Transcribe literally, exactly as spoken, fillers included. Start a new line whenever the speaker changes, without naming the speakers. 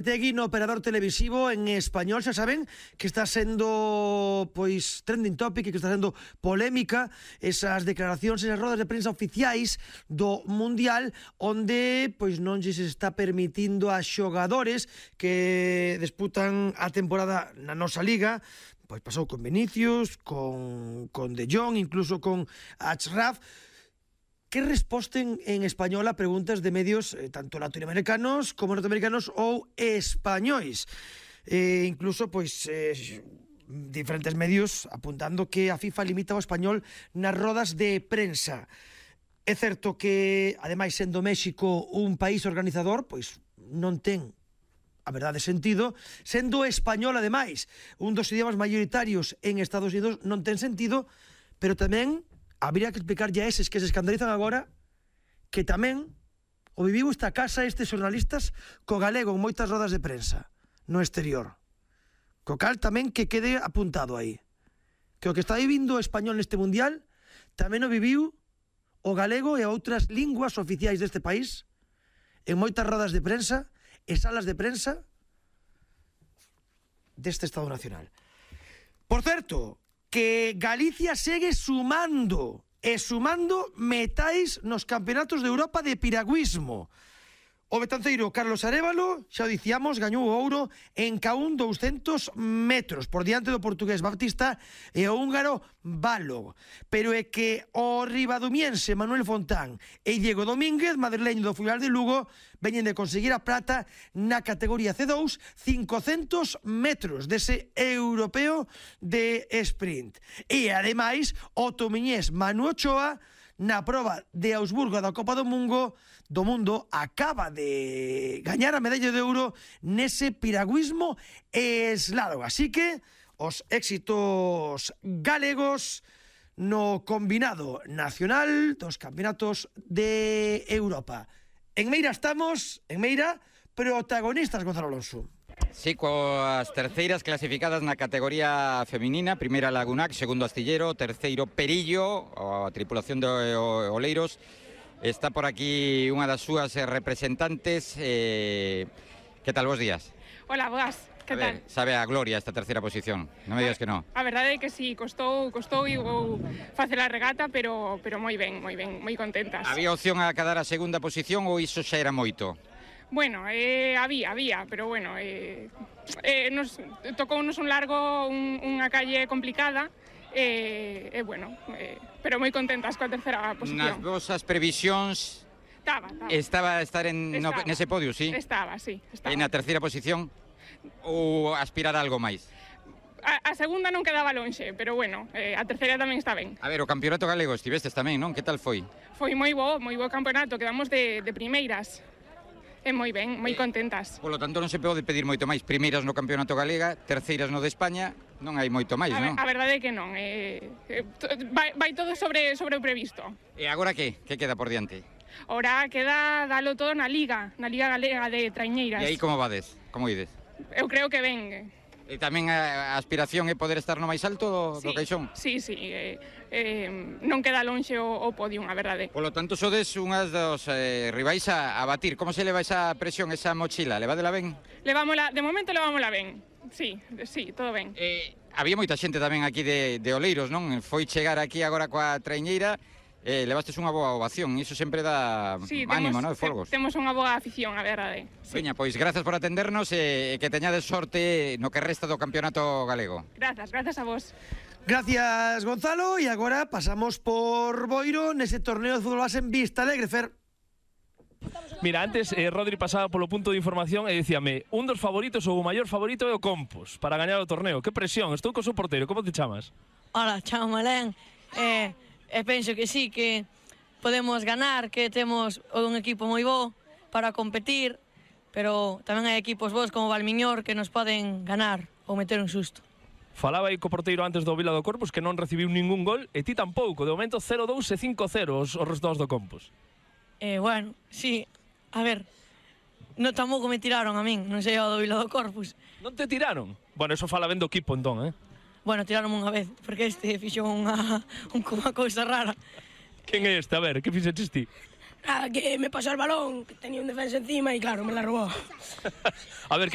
Tegui no operador televisivo en español, xa saben que está sendo pois trending topic e que está sendo polémica esas declaracións, esas rodas de prensa oficiais do Mundial onde pois non se está permitindo a xogadores que disputan a temporada na nosa liga. Pois pasou con Vinicius, con, con De Jong, incluso con Achraf, que resposten en español a preguntas de medios eh, tanto latinoamericanos como norteamericanos ou españois. Eh, incluso, pois, eh, diferentes medios apuntando que a FIFA limita o español nas rodas de prensa. É certo que, ademais, sendo México un país organizador, pois non ten a verdade sentido, sendo español, ademais, un dos idiomas maioritarios en Estados Unidos, non ten sentido, pero tamén habría que explicarlle a eses que se escandalizan agora que tamén o viviu esta casa estes xornalistas co galego en moitas rodas de prensa no exterior. Co cal tamén que quede apuntado aí. Que o que está vivindo o español neste mundial tamén o viviu o galego e outras linguas oficiais deste país en moitas rodas de prensa e salas de prensa deste Estado Nacional. Por certo, que Galicia segue sumando e sumando metais nos campeonatos de Europa de piragüismo. O betanceiro Carlos Arévalo, xa o dicíamos, gañou o ouro en caún douscentos metros por diante do portugués Baptista e o húngaro Balo. Pero é que o ribadumiense Manuel Fontán e Diego Domínguez, madrileño do Filial de Lugo, veñen de conseguir a prata na categoría C dous, cincocentos metros dese europeo de sprint. E, ademais, o tomiñés Manu Ochoa, na proba de Augsburgo da Copa do Mundo, do mundo acaba de gañar a medalla de ouro nese piragüismo slalom. Así que os éxitos galegos no combinado nacional dos campeonatos de Europa. En Meira estamos, en Meira, protagonistas, Gonzalo Alonso.
Sí, coas terceiras clasificadas na categoría feminina, primeira Lagunac, segundo Astillero, terceiro Perillo, a tripulación de Oleiros. Está por aquí unha das súas representantes. Eh, que tal, bos días?
Hola, boas, que tal?
Ver, sabe a gloria esta terceira posición, non me digas que non.
A verdade é que sí, costou, costou e vou facer a regata, pero, pero moi ben, moi ben, moi contentas.
Había opción a quedar a segunda posición ou iso xa era moito?
Bueno, eh, había, había, pero bueno, eh, eh, nos tocounos un largo, un, unha calle complicada, e eh, eh, bueno, eh, pero moi contentas coa terceira posición.
Nas vosas previsións
estaba, estaba.
estaba a estar en,
estaba.
No, nese podio, sí?
Estaba, sí. Estaba.
E na terceira posición ou aspirar a algo máis?
A, a segunda non quedaba lonxe, pero bueno, eh, a terceira tamén está ben.
A ver, o campeonato galego estivestes tamén, non? Que tal foi?
Foi moi bo, moi bo campeonato, quedamos de, de primeiras. É moi ben, moi contentas.
Por lo tanto, non se pode pedir moito máis. Primeiras no campeonato galega, terceiras no de España, non hai moito máis,
a,
non?
A verdade é que non. Eh, eh, vai, vai todo sobre, sobre o previsto.
E agora que? Que queda por diante?
Ora queda dalo todo na Liga, na Liga Galega de Traiñeiras.
E aí como vades? Como ides?
Eu creo que ben.
E tamén a aspiración é poder estar no máis alto do,
sí,
do caixón?
Sí, sí. Eh, eh, non queda lonxe o, o podium, a verdade.
Por lo tanto, sodes unhas dos eh, rivais a, a batir. Como se leva esa presión, esa mochila? Levádela ben?
Levámola, de momento levámola ben. Sí, sí, todo ben.
Eh, había moita xente tamén aquí de, de Oleiros, non? Foi chegar aquí agora coa traiñeira. Eh, levastes unha boa ovación, iso sempre dá
sí,
ánimo,
temos,
non? Folgos.
Temos unha boa afición, a verdade.
Sí. Veña, pois grazas por atendernos e que teñades sorte no que resta do campeonato galego.
Grazas, grazas a vos.
Gracias, Gonzalo, e agora pasamos por Boiro nese torneo de fútbol base en Vista Alegre, Fer.
Mira, antes eh, Rodri pasaba polo punto de información e dicíame un dos favoritos ou o maior favorito é o Compos para gañar o torneo. Que presión, estou co seu porteiro, como te chamas?
Hola, chamo Malén. Eh... E penso que sí, que podemos ganar, que temos un equipo moi bo para competir, pero tamén hai equipos bons como Valmiñor que nos poden ganar ou meter un susto.
Falaba aí co porteiro antes do Vila do Corpus que non recibiu ningún gol e ti tampouco, de momento cero dous e cinco cero os, os resultados do Compus.
Eh, bueno, sí, a ver, non tampouco me tiraron a min, non sei o do Vila do Corpus.
Non te tiraron? Bueno, eso fala ben do equipo entón, eh?
Bueno, tiraron unha vez, porque este fixo unha, unha cousa rara.
Quen é este? A ver, que fixeches ti?
Nada, que me pasó el balón, que tenía un defensa encima y claro, me la robó.
A ver, ¿qué